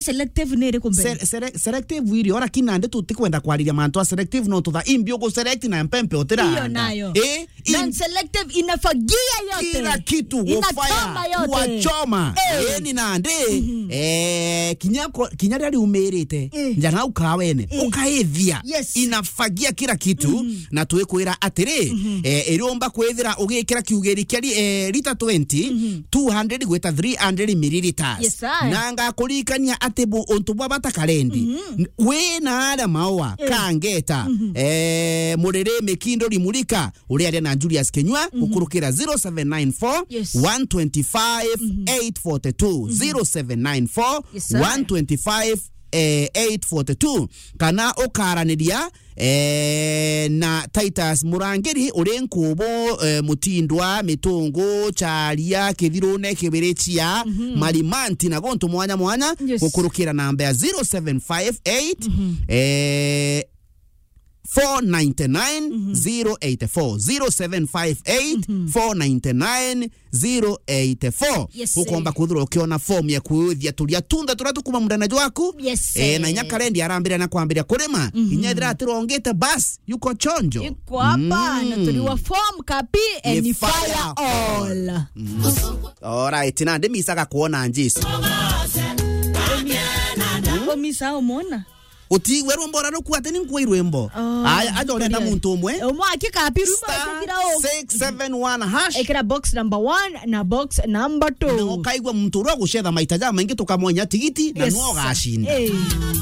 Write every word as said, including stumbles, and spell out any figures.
selective ni iriku mbere? Sele-, sele-, selective irio, lakini nandi tutikwenda kwariria mantu a selective, no tutha imbi ugu select na mpempe utira. Hiyo nayo. Eh, non-selective inafagia yote. Kila kitu, inachoma yote. Kuwachoma. Eh. Eh, ni nandi, eh, kinya ko-, kinya riria riumirite, eh, nja nau kawene, eh, ukaithia. Yes. Inafagia kila kitu, na twikwira atiri, eh, iriumba kwithira ugikira kiugiri kia ri-, eh, lita twenty, two hundred gwita three hundred milliliters. Yes, sir. Na ngakuririkania ati bu-, untu bwa bata karendi. N-, wi na aria maua, eh, kangeta, eh, muriri mikindo rimurika, uriaria na Julius Kenyua, gukurukira zero seven nine four, one twenty-five, eight forty-two, zero seven nine four, one twenty-five, eh, eight forty-two, kana ukaraniria, eh, na Titus Murangiri, uri Nkubu, eh, Mutindwa, Mitungu, Charia, Kithirune, Kibirichia, Marimanti na guntu mwanya mwanya, yes, gukurukira namba ya zero seven five eight, eh, four nine nine, zero eight four, zero seven five eight, four nine nine, zero eight four. Yes, ukomba sir. Kwithirwa ukiona form ya kuuthia turia tunda turia tukuma mundana jwaku. Yes, eh, na inya sir. Karendi arambira na kwambiria kurima. Inya ethira atirongite, bas, yuko chonjo. Yuko hapa, na turi wa form kapi, and ni fire all. All right, na ndimisaga kuona Jesu. Umisa umona? Utigwe rwimbo rwa ruku ati ni nkui rwimbo. Oh, aya, aja urenda muntu umwe. Umwe akika api rwimbo star six seven one hash. Ekira box number one na box number two. Na ukaigua muntu uria ugucetha maita ja maingi tukamwenya tigiti na, yes, nuo ugacinda. Eh.